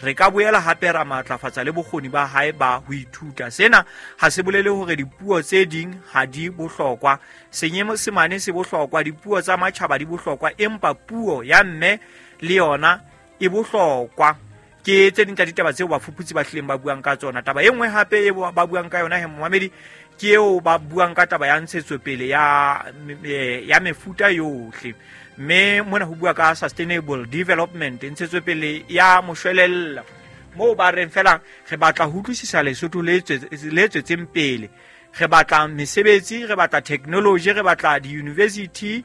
Re ka boela hape ra matlafatsa le bokgoni ba hae ba ho ithuta. Sena ha se bolele hore dipuo tse ding ha di bohlokwa. Senyesemane se bohlokwa, dipuo tsa matjhaba di bohlokwa, empa puo ya mme le yona e bohlokwa. Ke tse ding tsa ditaba tseo bafuputsi ba hlileng ba buang ka tsona. Taba e nngwe hape e ba buang ka yona he momamedi, ke eo ba buang ka taba ya ntshetsopele ya mefuta yohle. Mme mona ho bua ka sustainable development, ntshetsopele ya moshwelella, moo ba reng fela re batla ho utlwisisa Lesotho le tswetseng pele, re batla mesebetsi, re batla technology, re batla di-university,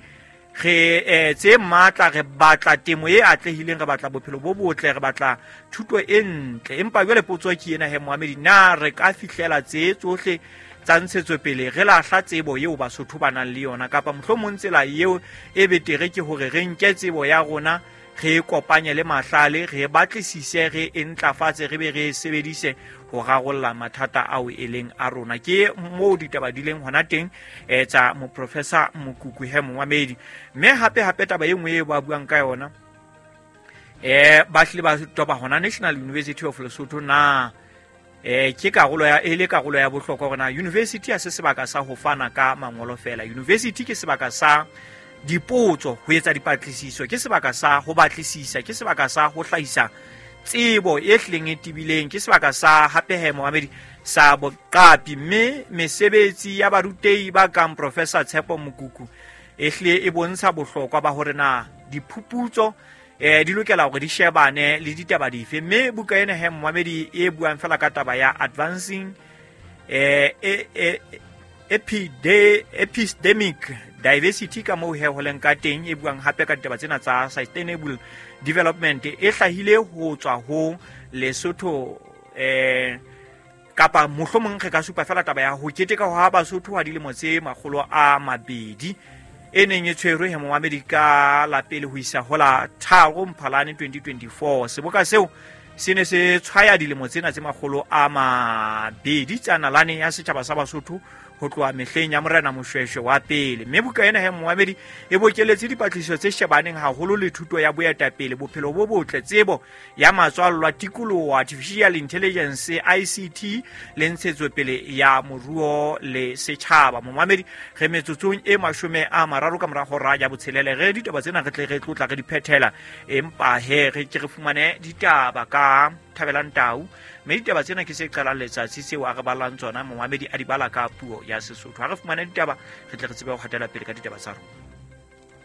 re tse matla, re batla temo e atlehileng, re batla bophelo bo botle, re batla thuto e ntle. Empa jwale potso ke ena he moamedi, na re ka fihlela tse tsohle tsa ntshetsopele re lahla tsebo eo Basotho ba nang le yona, kapa mohlomong tsela eo e betere ke hore re nke tsebo ya rona re e kopanye le mahlale, re batlisise, re e ntlafatse, re be re e sebedise ho rarolla mathata ao e leng a rona. Ke moo ditaba di leng hona teng tsa moprofessor Mokuku he momamedi. Mme hape hape taba e nngwe e ba buang ka yona, ba hlile ba toba hona National University of Lesotho, na ke karolo ya e le karolo ya bohlokwa hore na university ha se sebaka sa ho fana ka mangolo fela. University ke sebaka sa dipotso, ho etsa dipatlisiso, ke sebaka sa ho batlisisa, ke sebaka sa ho hlahisa tsebo e hlileng e tebileng, ke sebaka sa hape he momamedi sa boqapi. Mme mesebetsi ya barutehi ba kang Professor Tshepo Mokuku e hlile e bontsha bohlokwa ba hore na diphuputso di lokela hore di shebane le ditaba dife. Mme buka ena he momamedi e buang fela ka taba ya advancing epidemic diversity ka moo he ho leng ka teng, e buang hape ka ditaba tsena tsa sustainable development, e hlahile ho tswa ho Lesotho kapa mohlomong re ka supa fela taba ya ho keteka ho ha Basotho ha dilemo tse 200 e neng e tshwerwe he momamedi ka la pele ho isa ho la 3 Mphalane 2024. Seboka seo se ne se tshwaya dilemo tsena tse 200 tsa nalane ya setjhaba sa Basotho ho tloha mehleng ya Morena Moshweshwe wa pele. Mme buka ena he momamedi e bokeletse dipatlisiso tse shebaneng haholo le thuto ya boetapele, bophelo bo botle, tsebo ya matswallwa, tikoloho, artificial intelligence, ICT le ntshetsopele ya moruo le setjhaba. Momamedi, re metsotsong e 30 ka mora hora ya botshelele, re ditaba tsena re tle re tlotla re di phethela, empa he re ke re fumane ditaba ka Thabelang Tau. Mme ditaba tsena ke se qalang letsatsi tseo a re balang tsona, momamedi a di bala ka puo ya Sesotho. Ha re fumane ditaba re tle re tsebe ho hatela pele ka ditaba tsa rona.